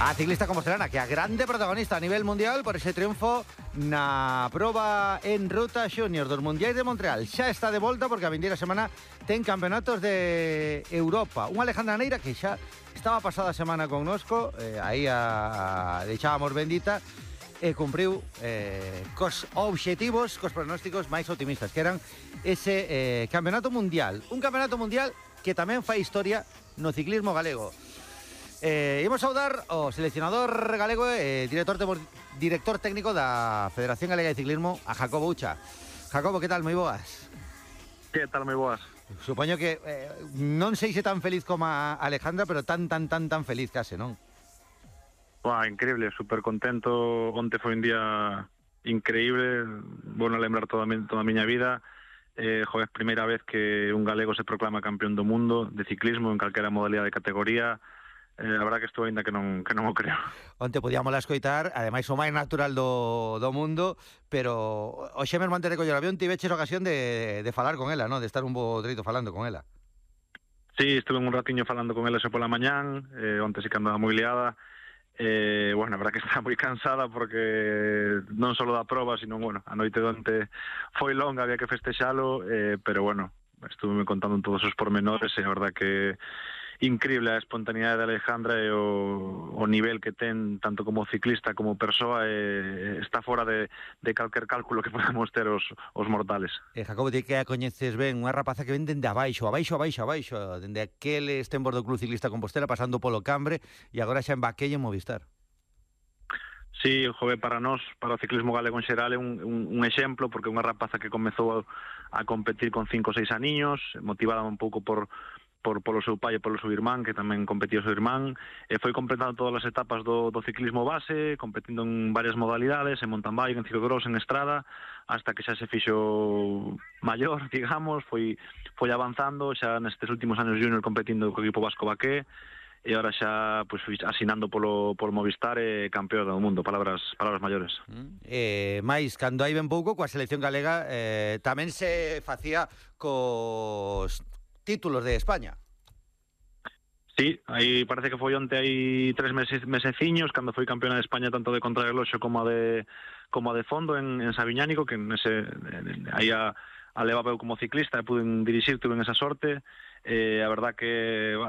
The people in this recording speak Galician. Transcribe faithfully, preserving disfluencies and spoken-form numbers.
A ciclista compostelana que a grande protagonista a nivel mundial por ese triunfo na proba en ruta Junior dos Mundiais de Montreal. Xa está de volta porque a vindeira semana ten campeonatos de Europa. Unha Alejandra Neira que xa estaba pasada a semana connosco, eh, aí a, a deixábamos bendita, e cumpriu eh, cos obxectivos, cos pronósticos máis optimistas, que eran ese eh, campeonato mundial. Un campeonato mundial que tamén fai historia no ciclismo galego. Eh, imos saudar o seleccionador galego e eh, director, director técnico da Federación Galega de Ciclismo, a Jacobo Ucha. Jacobo, que tal? Moi boas. Que tal, moi boas. Supoño que eh, non sei se tan feliz como a Alejandra, pero tan, tan, tan, tan feliz case, non? Buah, increíble, super contento. Onte foi un día increíble, bueno lembrar toda, toda a miña vida. Eh, joder, primeira vez que un galego se proclama campeón do mundo de ciclismo en calquera modalidade de categoría. Eh, a verdad que estou ainda que non, que non o creo. Onte podíamos la escoitar, ademais o máis natural do, do mundo, pero o Xemer antes de coller o avión tiveches ocasión de, de falar con ela, ¿no? De estar un bo treito falando con ela. Sí, estuve un ratiño falando con ela xa pola mañán, eh, onte sí que andaba moi liada. Eh, bueno, a verdad que está moi cansada porque non só da proba, sino, bueno, a noite de onte foi longa, había que festexalo, eh, pero bueno, estuve me contando todos os pormenores e a verdad que increíble a espontaneidade de Alejandra e o, o nivel que ten tanto como ciclista como persoa, e está fora de, de calquer cálculo que podamos ter os, os mortales. Eh, Jacobo, ti que a coñeces ben, unha rapaza que ven dende abaixo, abaixo, abaixo, abaixo, dende aqueles tempos do Club Ciclista Compostela pasando polo Cambre e agora xa en Baquello en Movistar. Sí, jove, para nós, para o ciclismo galego en xeral é un, un, un exemplo, porque é unha rapaza que comezou a, a competir con cinco ou seis aniños, motivada un pouco por por polo seu pai e polo seu irmán, que tamén competía o seu irmán, e foi completando todas as etapas do, do ciclismo base, competindo en varias modalidades, en mountain bike, en ciclocross, en estrada, hasta que xa se fixo maior, digamos, foi foi avanzando, xa nestes últimos anos junior competindo co equipo Vasco Baqué, e agora xa pues, asinando polo, polo Movistar e campeón do mundo, palabras palabras maiores. Mm. Eh, máis, cando hai ben pouco, coa selección galega eh, tamén se facía cos títulos de España. Sí, aí parece que foi onte hai tres meses, meseciños, cando foi campeona de España tanto de contrarreloxo como a de como a de fondo en, en Sabiñánico, que nese, aí a, a levaba eu como ciclista e pude dirixir, tuve esa sorte. Eh, a verdad que bah,